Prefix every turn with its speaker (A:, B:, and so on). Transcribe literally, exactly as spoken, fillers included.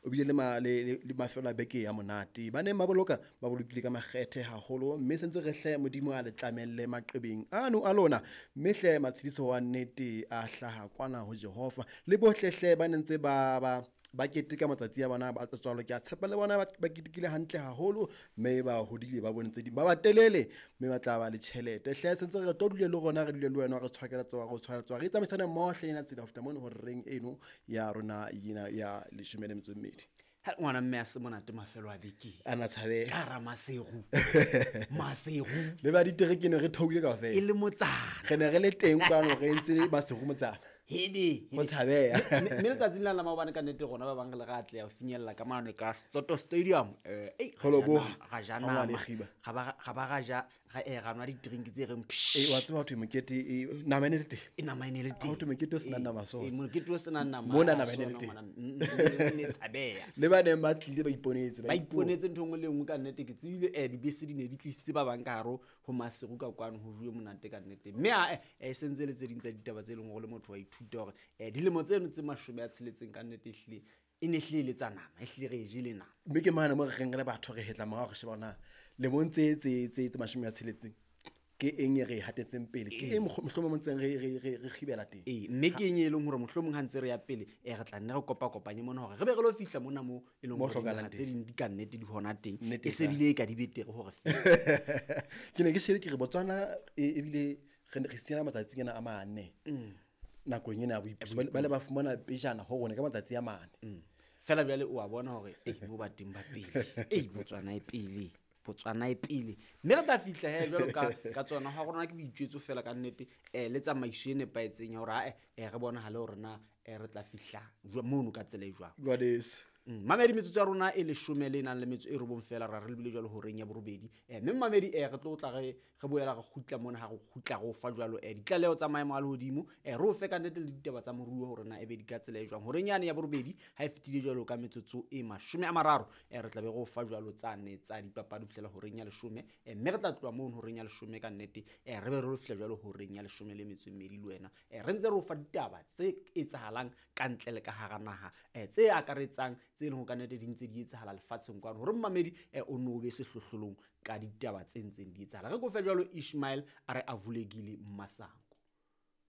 A: o bile le ma le le mafelo a beke ya monate. Ba neng ba boloka ba bolokile ka makgethe haholo, mme sentse re hle Modimo a le tlamelle maqebeng ano a lona, mme hle matshediso wa nnete a hlaha kwana ho Jehova. Le bohle hle ba nentse ba ba ba keteka matsatsi a bona ba tswalo, ke a tshepa le bona ba ketekile hantle haholo, mme ba hodile ba bone tse ding, ba ba telele mme ba tla ba le tjhelete. Hle sentse re tlo dule le rona, re dule le wena, re tshwakela tsoa re tshwara tsoa re tsamaisane mmoho hle ena tsela ho fihla mono horeng eno ya rona ena ya leshome le metso e mmedi.
B: Ha ngwana mme a se monate mafelo a beke.
A: Ana tshabe.
B: Ka ra Maseru. Maseru.
A: Le ba ditereke ne re theohile kaofela.
B: E le motsana.
A: Re ne re le teng kwano re ntse Maseru motsana.
B: Hede.
A: Ho tshabeha.
B: Mme letsatsing la la maobane ka nnete rona ba bang re le re atleha ho finyella ka mane ka Soto Stadium. Eh, ei,
A: Ho lo boha.
B: ra ja
A: Ha ngwana
B: nama.
A: e kgiba.
B: Ra ba ra ba ra ja, ra eh, ra nwa di-drink tse reng psh.
A: Eh, wa tseba ho thwe mokete, eh, nama e ne le teng.
B: E nama e ne le teng.
A: Ha ho thwe mokete o senang
B: Eh,
A: nama so.
B: eh, mokete o senang nama.
A: Mona nama e ne le
B: Sona
A: teng.
B: ngwana, mm, mm, mm, ne tshabeha.
A: Le ba neng ba tlile ba iponetse,
B: Ba iponetse ntho e nngwe le e nngwe ka nnete. Ke tsebile, eh, dibese di ne di tlisitse ba bang ka hare ho Maseru ka kwano ho juwe monate ka nnete. Mme ha, eh, eh, sentse le tse ding tsa ditaba tse leng hore le motho wa ithuta hore, eh, dilemo tseno tse mashome a tsheletseng ka nnete ehlile e ne ehlile le tsa nama, ehlile re e jele nama.
A: Mme ke mane mo re reng re le batho re hetla morao re sheba hore na lemong tse, tse, tse, tse mashome a tsheletseng ke eng e re e hatetseng pele, ke eng mohlomong, mohlomong ntseng re, re, re, re kgibela teng.
B: Ee, mme ke eng e leng hore mohlomong ha ntse re ya pele, eh, re tla nne re kopakopanye mona hore re be re lo fihla mona moo e leng
A: Mo
B: hore
A: hlokahalang
B: dinaha tse
A: teng.
B: ding di ka nnete di hona teng.
A: Nnete
B: E se
A: ka.
B: bile e ka di betere hore fela.
A: Ke ne ke shebile ke re Botswana e, ebile re ne re siana matsatsing ana a mane.
B: Mm.
A: Nakong ena ya boipuso. Ba le, ba le ba fumana pejana ho rona ka matsatsi a mane.
B: Mm. Fela jwale o a bona hore, ei, mo ba teng ba pele. Ei, Botswana e pele. Botswana e pele. Mme re tla fihla he jwalo ka, ka tsona. Ha rona ke boitjwetso fela ka nnete, eh, le tsamaiso e nepahetseng ya hore, ha, eh, eh, re bonahale hore na, eh, re tla fihla jwa-, mono ka tsela e jwang.
A: Jwaleso.
B: Mm, mamedi, metsotso ya rona e leshome le nang le metso e robong fela, ra re lebile jwalo horeng ya borobedi. Eh, mme mamedi, eh, re tlo tla re, re boela re kgutla mona ha re kgutla re o fa jwalo, eh, ditlaleho tsa maemo a lehodimo, eh, re o fe ka nnete le ditaba tsa moruo hore na ebe di ka tsela e jwang. Horeng yane ya borobedi ha e fetile jwalo ka metsotso e mashome a mararo, eh, re tla be re o fa jwalo tsane tsa dipapadi ho fihlela horeng ya leshome. Eh, mme re tla tloha mono horeng ya leshome ka nnete, eh, re be re lo fihla jwalo horeng ya leshome le metso e mmedi le wena. Eh, re ntse re o fa ditaba tse etsahalang ka ntle le ka hara naha, eh, tse akaretsang tse leng hore ka nnete di ntse di etsahala lefatsheng kwano, hore mmamedi, eh, o no be sehlohlolong ka ditaba tse ntseng di etsahala. Re kofe jwalo Ishmael a re a vulekile Masango.